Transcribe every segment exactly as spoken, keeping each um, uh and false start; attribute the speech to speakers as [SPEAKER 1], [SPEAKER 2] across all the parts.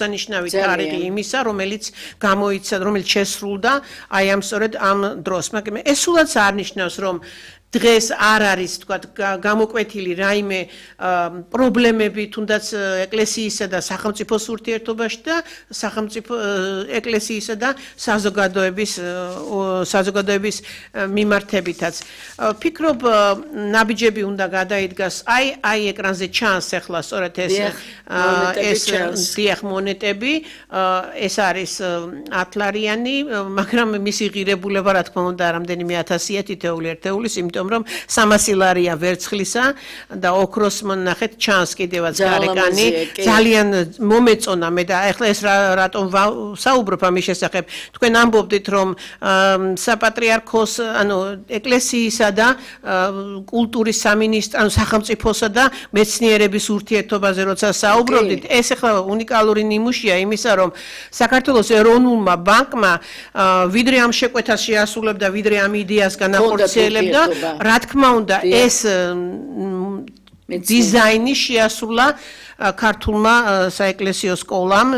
[SPEAKER 1] დანიშნავი თარიღი იმისა, რომელიც გამოიცა, რომელიც შესრულდა აი ამ სწორედ ამ დროს. მაგრამ ეს სულაც არ ნიშნავს, რომ დღეს არ არის თქვათ გამოკვეთილი რაიმე პრობლემები თუნდაც ეკლესიისა და სახელმწიფოს ურთიერთობაში და სახელმწიფო ეკლესიისა და საზოგადოების საზოგადოების მიმართებითაც. Ფიქრობ ნაბიჯები უნდა გადაიდგას აი აი ეკრანზე ჩანს ახლა სწორედ ეს ეს დიახ მონეტები ეს არის ათლარიანი, მაგრამ მისი ღირებულება რა თქმა უნდა რამდენიმე ათასია თითოეული ერთეულის, იმიტომ რომ სამასი ლარია ვერცხლისა და ოქროს მონახეთ ჩანს კიდევაც გარეკანი ძალიან მომეწონა მე და ახლა ეს რატომ საუბრობ ამის შესახებ თქვენ ამბობდით რომ საპატრიარქოს ანუ ეკლესიისა და კულტურის სამინისტრო ანუ სახელმწიფოსა და მეცნიერების ურთიერთობაზე როცა საუბრობდით ეს ახლა უნიკალური ნიმუშია იმისა რომ საქართველოს ეროვნულმა ბანკმა ვიდრე ამ შეკვეთას შეასრულებდა ვიდრე ამ იდეას განახორციელებდა რა თქმა უნდა ეს დიზაინი შეასრულა ქართულმა საეკლესიო სკოლამ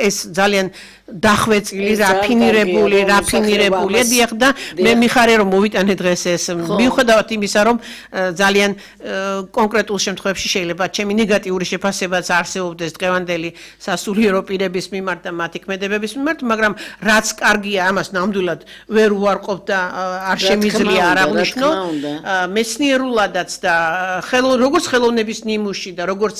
[SPEAKER 1] ეს ძალიან დახვეწილი, რაფინირებული, რაფინირებული დიახ და მე მიხარია რომ მოვიტანე დღეს ეს მიუხედავად იმისა რომ ძალიან კონკრეტულ შემთხვევებში შეიძლება ჩემი ნეგატიური შეფასებაც არსებობდეს დღევანდელი სასულიერო პირების მიმართ და მათი ქმედებების მიმართ, მაგრამ რაც კარგია ამას ნამდვილად ვერ უარყოფ და არ შემიძლია არ აღნიშნო მეცნიერულადაც და როგორც ხელოვნების ნიმუში და როგორც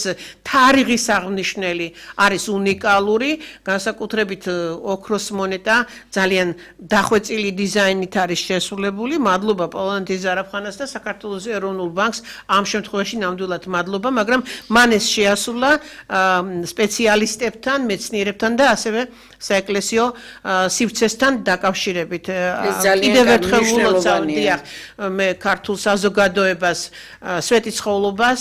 [SPEAKER 1] თარიღის აღნიშნელი არის უნიკალური, განსაკუთრებით ოქროს მონეტა ძალიან დახვეწილი დიზაინით არის შესრულებული. მადლობა პოლონეთის ზარაფხანას და საქართველოს ეროვნულ ბანკს ამ შემთხვევაში ნამდვილად მადლობა, მაგრამ მან ეს შეასრულა სპეციალისტებთან, მეცნიერებთან და ასევე საეკლესიო სივრცესთან დაკავშირებით. კიდევ ერთხელ ულოცავ მე ქართულ საზოგადოებას სვეტიცხოვლობას,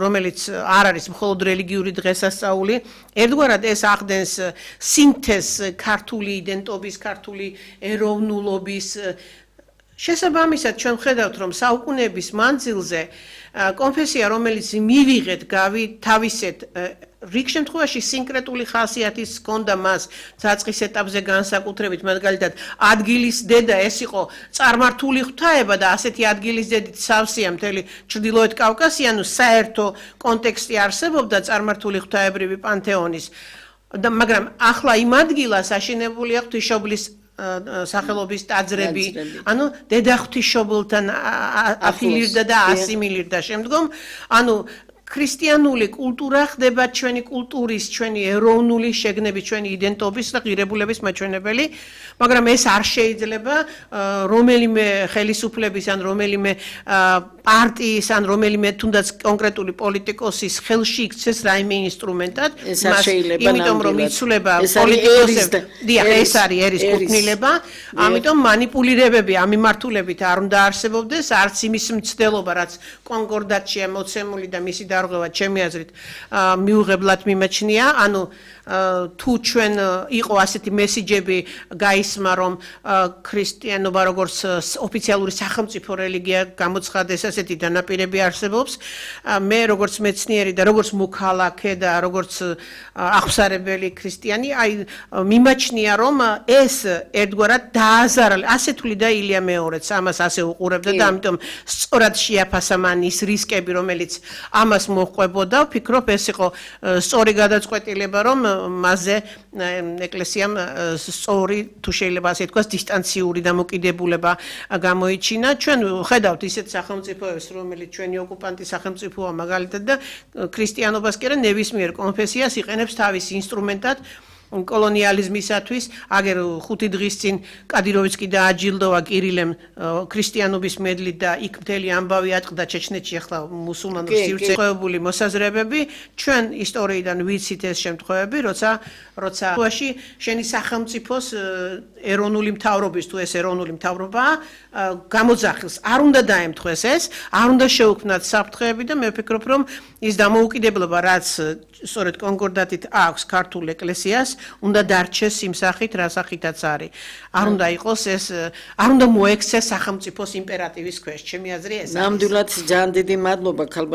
[SPEAKER 1] რომელიც არ არის მხოლოდ რელიგიური დღესასწაული, ერთგვარად ეს ახდენს სინთეზს ქართული იდენტობის, ქართული ეროვნულობის შესაბამისად ჩვენ ხედავთ რომ საუკუნეების მანძილზე კონფესია რომელიც მივიღეთ თავისეთ რიგ შემთხვევაში სინკრეტული ხასიათის ჰქონდა მას საწყის ეტაპზე განსაკუთრებით მაგალითად ადგილის დედა ეს იყო წარმართული ღვთაება და ასეთი ადგილის დედით სავსეა მთელი ჩრდილოეთ კავკასია, ანუ საერთო კონტექსტი არსებობდა წარმართული ღვთაებრივი პანთეონის და მაგრამ ახლა იმ ადგილას აშენებულია ღვთისმშობლის სახელობის ტაძრები, ანუ დედა ღვთისმშობელთან აფილირდა და ასიმილირდა შემდგომ, ანუ ქრისტიანული კულტურა ხდება ჩვენი კულტურის, ჩვენი ეროვნული შეგნების, ჩვენი იდენტობის და ღირებულების მაჩვენებელი, მაგრამ ეს არ შეიძლება რომელიმე ხელისუფლების ან რომელიმე პარტიის ან რომელიმე თუნდაც კონკრეტული პოლიტიკოსის ხელში იქცეს რაიმე ინსტრუმენტად, იმიტომ რომ იცვლება პოლიტიკოსები, დიახ, ეს არის ერის კუთვნილება, ამიტომ манипуლირებები ამ მიმართულებით არ უნდა არსებობდეს, არც იმის მცდელობა, რაც კონკორდატშია მოცემული და მისი დარღვევა ჩემი აზრით მიუღებლად მიმაჩნია, ანუ თუ ჩვენ იყო ასეთი მესიჯები გაისმა რომ ქრისტიანობა როგორც ოფიციალური სახელმწიფო რელიგია გამოცხადდეს ასეთი დანაპირები არსებობს მე როგორც მეცნიერი და როგორც მოქალაქე და როგორც აღსარებელი ქრისტიანი აი მიმაჩნია რომ ეს ერთგვარად დააზარალ ასე თვლიდა ილია მეორეც ამას ასე უყურებდა და ამიტომ სწორად შეაფასა მან ის რისკები რომელიც ამას მოჰყვებოდა ვფიქრობ ეს იყო სწორი გადაწყვეტილება რომ მასზე ეკლესიამ სწორი თუ შეიძლება ასე თქვას დისტანციური დამოკიდებულება გამოიჩინა ჩვენ ხედავთ ისეთ სახელმწიფოებს რომელიც ჩვენი ოკუპანტი სახელმწიფოა მაგალითად და ქრისტიანობას კი არა ნებისმიერ კონფესიას იყენებს თავის ინსტრუმენტად კოლონიალიზმისათვის აგერ ხუთი დღის წინ კადიროვიცკი დააჯილდოვა კირილემ ქრისტიანობის მედლით და იქ მთელი ამბავი ატყდა ჩეჩნეთში ახლა მუსულმანურ სივრცეებში მოსაზრებები ჩვენ ისტორიიდან ვიცით ეს შემთხვევები როცა როცა შენი სახელმწიფოს ეროვნული მთავრობის თუ ეს ეროვნული მთავრობაა გამოძახილს არ უნდა დაემთხვეს ეს არ უნდა შეუქმნათ საფრთხეები და მე ვფიქრობ რომ ის დამოუკიდებლობა რაც სწორედ კონკორდატით აქვს ქართულ ეკლესიას უნდა დარჩეს იმ სახით რა სახითაც არის არ უნდა იყოს ეს არ უნდა მოექცეს სახელმწიფოს იმპერატივის ქვეშ ჩემი აზრი ესაა
[SPEAKER 2] ნამდვილად ძალიან დიდი მადლობა ქალბატონ